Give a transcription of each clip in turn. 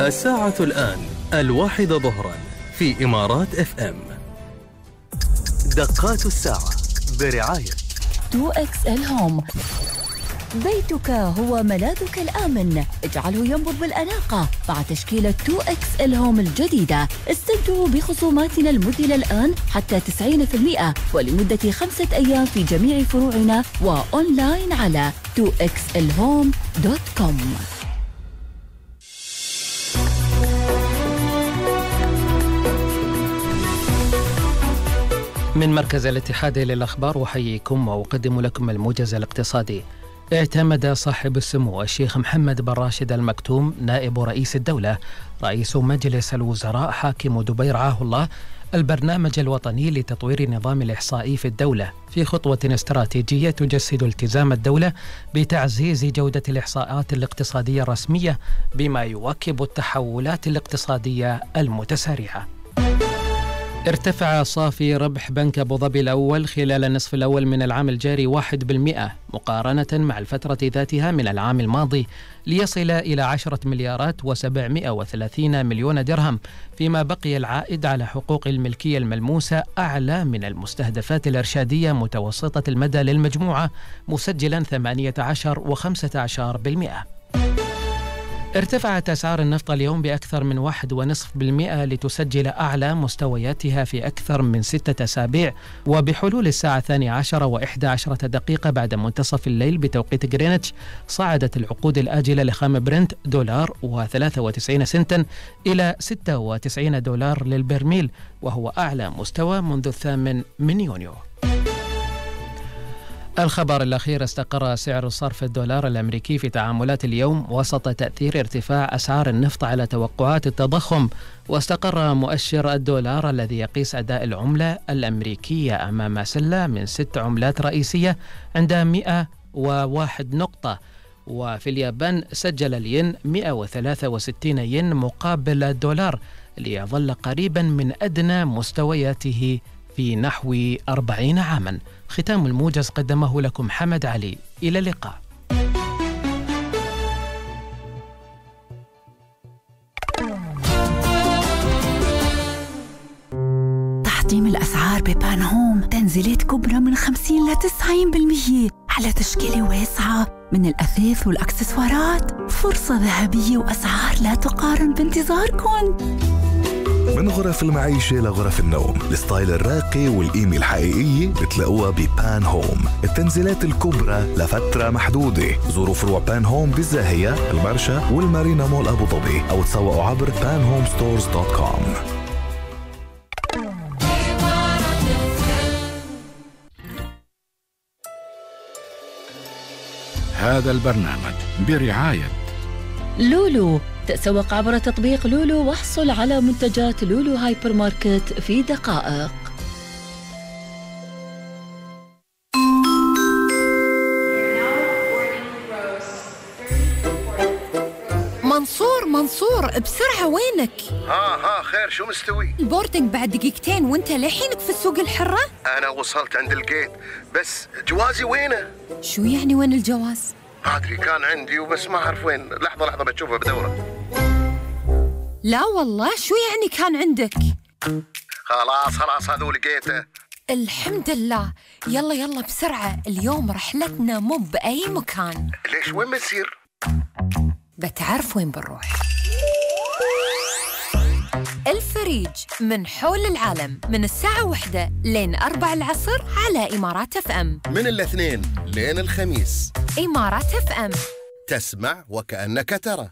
الساعة الآن 1 ظهرا في إمارات FM. دقات الساعة برعاية 2XL هوم. بيتك هو ملاذك الآمن، اجعله ينبض بالأناقة مع تشكيلة 2XL هوم الجديدة. استمتعوا بخصوماتنا المذهلة الآن حتى 90% ولمدة 5 أيام في جميع فروعنا وأونلاين على 2xlhome.com. من مركز الاتحاد للأخبار أحييكم وأقدم لكم الموجز الاقتصادي. اعتمد صاحب السمو الشيخ محمد بن راشد المكتوم نائب رئيس الدولة رئيس مجلس الوزراء حاكم دبي رعاه الله البرنامج الوطني لتطوير النظام الإحصائي في الدولة في خطوة استراتيجية تجسد التزام الدولة بتعزيز جودة الإحصاءات الاقتصادية الرسمية بما يواكب التحولات الاقتصادية المتسارعة. ارتفع صافي ربح بنك أبو ظبي الأول خلال النصف الأول من العام الجاري 1% مقارنة مع الفترة ذاتها من العام الماضي ليصل إلى 10 مليارات و730 مليون درهم، فيما بقي العائد على حقوق الملكية الملموسة أعلى من المستهدفات الإرشادية متوسطة المدى للمجموعة مسجلا 18 و15%. ارتفعت أسعار النفط اليوم بأكثر من 1.5% لتسجل أعلى مستوياتها في أكثر من 6 أسابيع، وبحلول الساعة 12:11 بعد منتصف الليل بتوقيت غرينتش صعدت العقود الآجلة لخام برنت $93 إلى $96 للبرميل، وهو أعلى مستوى منذ 8 يونيو. الخبر الأخير: استقر سعر صرف الدولار الأمريكي في تعاملات اليوم وسط تأثير ارتفاع أسعار النفط على توقعات التضخم، واستقر مؤشر الدولار الذي يقيس أداء العملة الأمريكية أمام سلة من 6 عملات رئيسية عند 101 نقطة. وفي اليابان سجل الين 163 ين مقابل الدولار ليظل قريبا من أدنى مستوياته في نحو 40 عاما. ختام الموجز قدمه لكم حمد علي. إلى اللقاء. تحطيم الأسعار ببان هوم، تنزيلات كبرى من 50 ل 90% على تشكيلة واسعة من الأثاث والأكسسوارات. فرصة ذهبية وأسعار لا تقارن بانتظاركم. من غرف المعيشة لغرف النوم، الستايل الراقي والقيمة الحقيقية بتلاقوها ببان هوم. التنزيلات الكبرى لفترة محدودة. زوروا فروع بان هوم بالزاهية، المرشا والمارينا مول أبو ظبي، أو تسوقوا عبر panhomestores.com. هذا البرنامج برعاية لولو. تسوق عبر تطبيق لولو واحصل على منتجات لولو هايبر ماركت في دقائق. منصور بسرعة، وينك؟ ها خير، شو مستوي؟ البوردنج بعد دقيقتين وانت لحينك في السوق الحرة؟ أنا وصلت عند الجيت، بس جوازي وينه؟ شو يعني وين الجواز؟ أدري كان عندي وبس ما أعرف وين. لحظة بتشوفه بدورة. لا والله، شو يعني كان عندك؟ خلاص هذول لقيته. الحمد لله. يلا بسرعة، اليوم رحلتنا مو بأي مكان. ليش؟ وين بنسير؟ بتعرف وين بنروح؟ الفريج من حول العالم من الساعة 1 لين 4 العصر على إمارات FM. من الاثنين لين الخميس. إمارات FM، تسمع وكأنك ترى.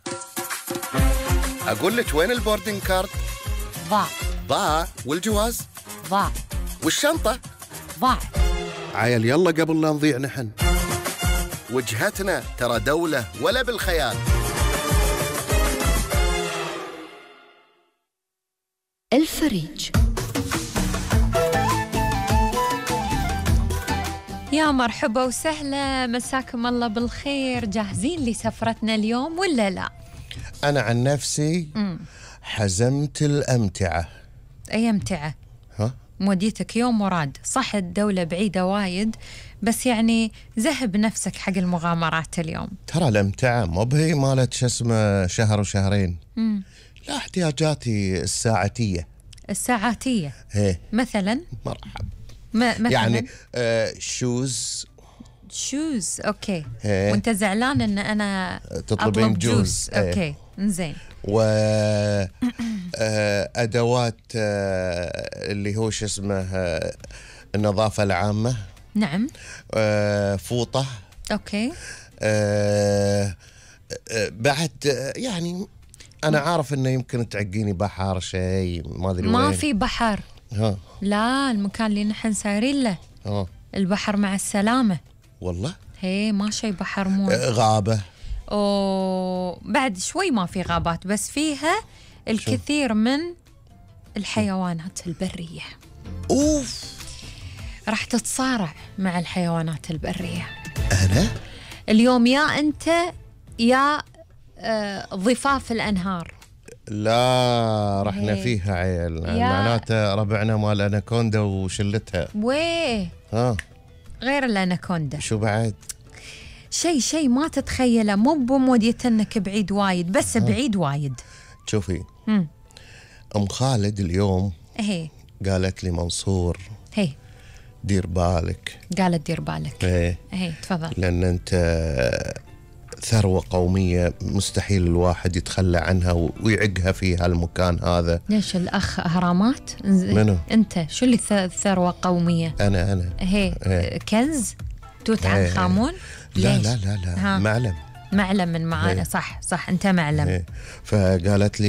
أقول لك وين البوردنج كارد؟ ضاع. والجواز؟ ضاع. والشنطة؟ ضاع. عيل يلا قبل لا نضيع نحن. وجهتنا ترى دولة ولا بالخيال. الفريج. يا مرحبا وسهلا، مساكم الله بالخير. جاهزين لسفرتنا اليوم ولا لا؟ أنا عن نفسي حزمت الأمتعة. أي أمتعة؟ ها؟ موديتك يوم مراد. صح الدولة بعيدة وايد، بس يعني ذهب نفسك حق المغامرات اليوم. ترى الامتعة مو بهي مالت شو اسمه شهر وشهرين. لا، احتياجاتي الساعاتية ايه مثلا. مرحب. مثلا يعني شوز اوكي. إيه. وانت زعلان ان انا تطلبين اطلب جوز. إيه. اوكي زين. و ادوات اللي هو شو اسمه النظافة العامة. نعم. فوطة. اوكي. بعد يعني انا عارف انه يمكن تعقيني بحر شيء ما ادري ما وين. في بحر. لا، المكان اللي نحن سايرين له البحر مع السلامة. والله هي ما شي بحر مو غابة. بعد شوي ما في غابات، بس فيها الكثير من الحيوانات البرية. اوف، راح تتصارع مع الحيوانات البرية انا اليوم، يا انت يا ضفاف الانهار. لا، رحنا فيها عيل، معناته ربعنا مال اناكوندا وشلتها. ويه غير الاناكوندا شو بعد؟ شيء ما تتخيله، مو بموديتنك بعيد وايد، بس بعيد وايد. شوفي ام خالد اليوم قالت لي منصور دير بالك. قالت دير بالك. ايه تفضل. لان انت ثروة قومية مستحيل الواحد يتخلى عنها ويعقها في هالمكان هذا. ليش الأخ أهرامات؟ منو؟ أنت شو اللي ثروة قومية؟ أنا كنز توت عنخ آمون؟ لا معلم من معانا. صح أنت معلم. فقالت لي